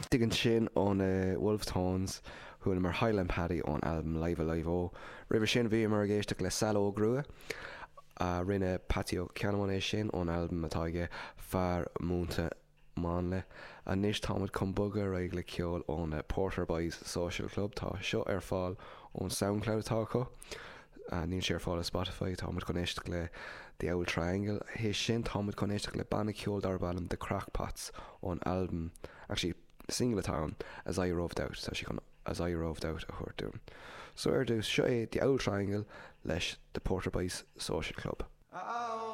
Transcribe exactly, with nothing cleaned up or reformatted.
Istigh ansin ó na Wolfe Tones, chualamar Highland Paddy ón albam Live Alive O. Roimhe sin bhíomar ag éisteacht le Sal Óg Rua, a rinne Patsy Ó Ceannabháin é sin ón albam atá aige Fear Múinte Máinle. Anois táimid chun bogadh ar aghaidh le ceol ó na Porter Boys Social Club. Tá seo ar fáil ón SoundCloud atá acu. Níl sé ar fáil ar Spotify. Táimid chun éisteacht le The Owl Triangle. Théis sin táimid chun éisteacht le banna ceoil darb ainm The Crackpots ón albam, actually single atá ann, As I Roved Out. Tá sé chun As I Roved Out a thabhairt dúinn. So ar dtús, seo é The Owl Triangle leis The Porter Boys Social Club. Oh.